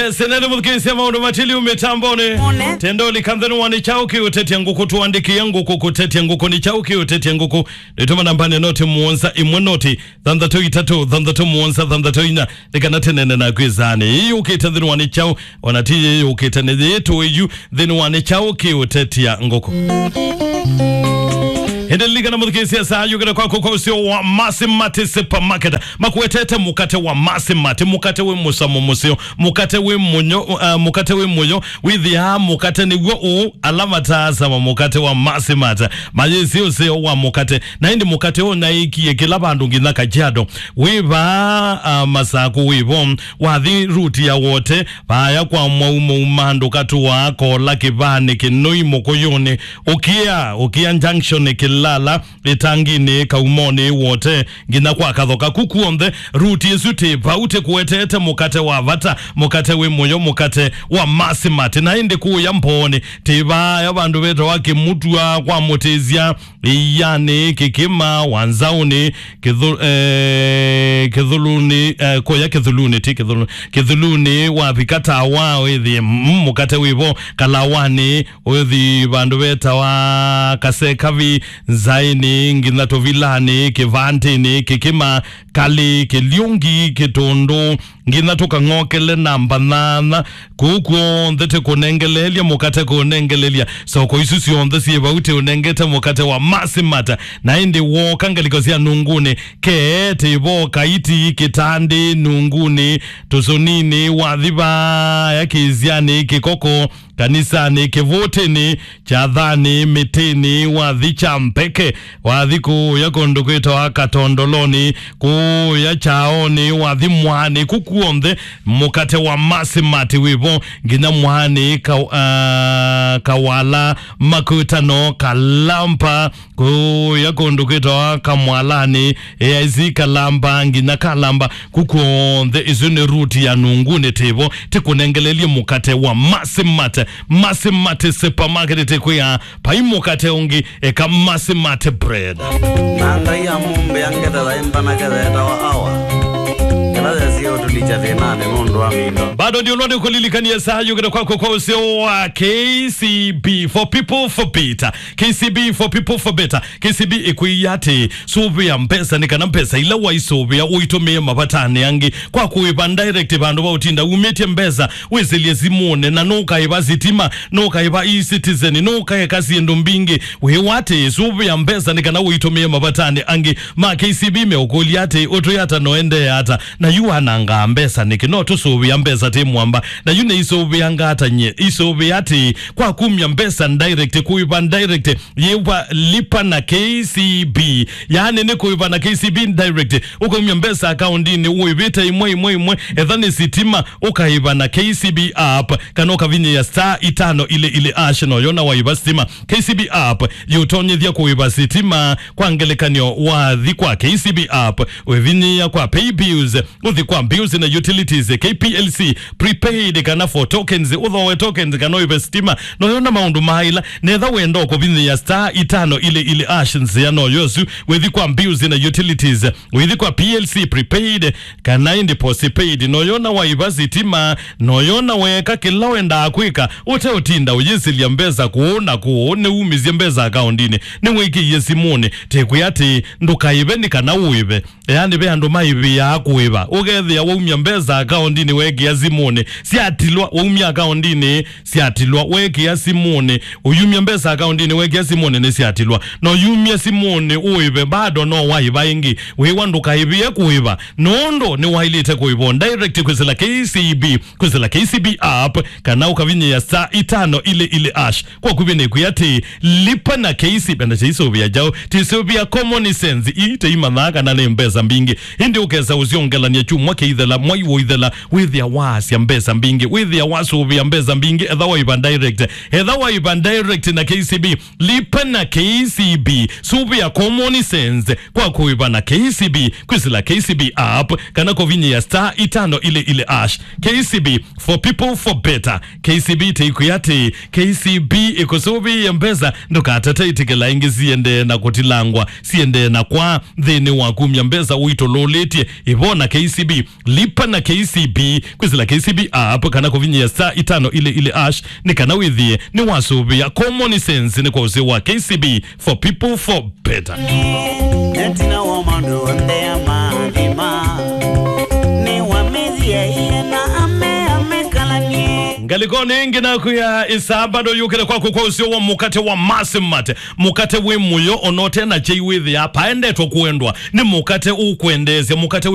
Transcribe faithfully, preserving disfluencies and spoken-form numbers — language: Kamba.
Senene mũthukĩĩsya maũndũ matiliu mĩtambonĩ. Tendo likanthani wa nĩ kyaũ kĩũtetya ngũkũ, tũandĩkĩe ngũkũ kũtetya ngũkũ, nĩ kyaũ kĩũtetya ngũkũ. Nĩtũma nambani noti mũonza ĩmwe noti thanthatũ itatũ thanthatũ mũonza thanthatũ inya, nĩ kana tũneene naku ĩsaanĩ. Ĩĩ yũkĩte nthĩnĩ wa nĩ kyaũ, ona ti ĩĩ yũkĩte, nĩ yĩĩ tũĩ yu nthĩnĩ wa nĩ kyaũ kĩũtetya ngũkũ. Ĩndĩ lilikana mũthukĩĩsya saa yũkĩte kwaku kwa ũseo wa Masimati Supermarket. Makuetete mũkate wa Masimati, mũkate wĩ mũsamo mũseo, mũkate wĩ mũnyo, uh, mũkate wĩ mũyo. Wĩthĩaa mũkate nĩw'o ũũ, ala mataasama mũkate wa Masimati mayĩsĩ ũseo wa mũkate. Na ĩndĩ mũkate ũũ naĩkie kĩla vandũ nginya Kajiado. Wĩ vaa, uh, Masakũ wĩ vo, wathi ruti ya Wote, vaaya kwa Mwau Mũuma, ndũkatũaa Kola, Kĩvaanĩ, Kĩnũi, Mũkũyũnĩ, ũkĩa, ũkĩa Junction, Kĩlala, Ĩtanginĩ, Kaumonĩ, Wote, nginya kwa Kathoka. Ku kw'onthe, ruti ĩsu tĩ vau tĩkũetete mũkate wa vata, mũkate wĩ mũyo, mũkate wa Masimati. Na ĩndĩ kũũya Mboonĩ, tĩ vaaya vandũ vetawa Kĩmutwa kwa Mũtĩsya, Ĩianĩ, Kĩkĩma, Wanzaũnĩ, Kĩthũ-, eh, Kĩthũlũnĩ, eh, kũya Kĩthũlũnĩ, ti Kĩthũlũ-, Kĩthũlũnĩ, wavika Tawa, wĩthĩe, mm, mũkate wĩ vo, Kalawanĩ, ũthi vandũ vetawa Kasekavi, Nzaĩnĩ, nginya Tũvilanĩ, Kĩvantĩnĩ, Kĩkĩma, Kalĩ, Kĩlyũngi, Kĩtũndũ, nginya tũkang'okele namba nana. Kũu kw'onthe tĩkũnengeleelya mũkate, kũnengeleelya soko isu syonthe syĩ vau, tĩũnengete mũkate wa Masimati. Na ĩndĩ wooka ngalĩko sya Nungunĩ, kee tĩ vo Kaiti, Kĩtandĩ, Nungunĩ, Tũsũninĩ, wathi vaaya Kĩsyanĩ, Kĩkoko, Kanisanĩ, Kĩvũtĩnĩ, Kyathanĩ, Mĩtĩnĩ, wathi Kyambeke, wathi kũũya kũndũ kwĩtawa Katondolonĩ, kũũya Kyaonĩ, wathi Mwaanĩ, ku kw'onthe mũkate wa Masimati wĩ vo, nginya Mwaanĩ, Ka-, ah, Kawala, Makutano, Kalampa, kũũya kũndũ kwĩtawa Kamwalanĩ, A I C Kalamba, nginya Kalamba, ku kw'onthe. Isu nĩ ruti ya Nungunĩ tĩ vo, tĩkũnengeleelye mũkate wa Masimati. Masimati Supermarket tĩkwĩa, vai mũkate ũngĩ, eka Masimati Bread. Na Ngai amũmbĩa ngetha yaĩ mbanake yeetawa Awa, ĩla yesie ũtũlikya thĩnanĩ nũndũ wa mĩindo. Bado ndio ũlwa nĩkũlilikanie saa yũkĩte kwaku kwa ũseo wa K C B for people for better. K C B for people for better. K C B ĩkwĩie atĩĩ, sũvĩa mbesa nĩ kana mbesa ila waisũvĩa ũitũmĩe mavatanĩ angĩ kwa kũĩva direct vandũ va ũtinda umĩtye mbesa wĩsĩlye simũnĩ, na nũkaĩva sitima, nũkaĩva e-Citizen, nũkaeka syĩndũ mbingĩ. Wĩwa atĩĩ, sũvĩa mbesa nĩ kana ũitũmĩe mavatanĩ angĩ. Ma K C B meũkũlya atĩĩ, ũtwĩ ata na ũendee ata? Na yu wanangaa mbesa nĩkĩ? No tũsũvĩa mbesa tĩ mwamba. Na yu nĩisũvĩanga ata nyie? Isũvĩa atĩĩ, kwa kumya mbesa direct, kũĩva direct, yĩwa lipa na K C B. Yaani nĩ kũĩva na K C B direct. Ũkaumya mbesa akaundinĩ ũĩvĩte imwe, imwe, imwe. Etha nĩ sitima, ũkaĩva na K C B app, kana ũkavinyĩa star itano ile ile hash, na ũyona waĩva sitima. K C B app yĩũtonyethya kũĩva sitima. Kwa ngelekany'o, wathi kwa K C B app, wĩvinyĩa kwa pay bills, ũthi kwa bills na utilities, K P L C, prepaid kana for tokens, ũthooe tokens kana ũĩve sitima. Noyona maũndũ ma ĩla, netha wenda kũvinyĩa star itano ile ile hash nzĩa noyo ĩsu, wĩthi kwa bills na utilities, wĩthi kwa P L C, prepaid kana ĩndĩ postpaid. Noyona waĩva sitima, noyona weeka kĩla wendaa kwĩka, ũteũtinda ũyĩsĩlya mbesa kũũ na kũũ, nĩwumisye mbesa akaundinĩ, nĩwĩkĩie simũnĩ. Tĩkwĩa atĩ ndũkaĩve nĩ kana ũĩve. Yaani ve andũ maĩvĩaa kũĩva. Ũkethĩa waumya mbesa akaundinĩ weekĩa simũnĩ, syatilwa. Waumya akaundinĩ, syatilwa. Weekĩa simũnĩ, ũyumya mbesa akaundinĩ weekĩa simũnĩ, nĩsyatilwa. No yumye simũnĩ ũĩve, bado no waĩva ĩngĩ. Wĩwa ndũkaĩvĩe kũĩva, nũndũ nĩwaĩlĩte kũĩva direct kwĩsĩla K C B, kwĩsĩla K C B app, kana ũkavinyĩa star itano ile ile hash. Kwa kuvĩ nĩkwĩa atĩ, lipa na K C B, na tĩisũvĩa kyaũ, tĩisũvĩa common sense, ii tĩimanyaa kana nĩ mbesa mbingĩ. Ĩndĩ ũkesa ũsyongelany'a kyumwa kĩithela, mwai ũithela, wĩthĩa waasya mbesa mbingĩ, wĩthĩa wasũvĩa mbesa mbingĩ, etha waĩva direct, etha waĩva direct na K C B, lipa na K C B, sũvĩa common sense, kwa kũĩva na K C B, kwĩsĩla K C B app, kana kũvinyĩa star itano ile ile hash. K C B, for people, for better. K C B tĩikwĩa atĩ, K C B ĩkũsũvĩĩe mbesa, ndũkatate, ĩtĩkĩla ĩngĩ siendee na kũtilangwa, siendee na kwaa nthĩnĩ wa kumya mbesa ũitũlũlĩtye. Ĩvo na K C B C B, lipa na K C B, kwĩsĩla K C B app kana kũvinyĩa star itano ile ile hash nĩ kana wĩthĩe nĩwasũvĩa. Common sense nĩ kwa ũseo wa K C B, for people, for better. Nĩtina wa maũndũ onthe ya maathima, nĩwamĩthie iye na ame amekalanie. Ngalĩkonĩ ĩngĩ naku ya ĩsaa bado yũkĩte kwaku kwa ũseo wa mũkate wa Masimate. Mũkate wĩ mũyo, ona ũte na kyei wĩthĩaa paendetwe kwendwa. Nĩ mũkate ũkwendeesya, mũkate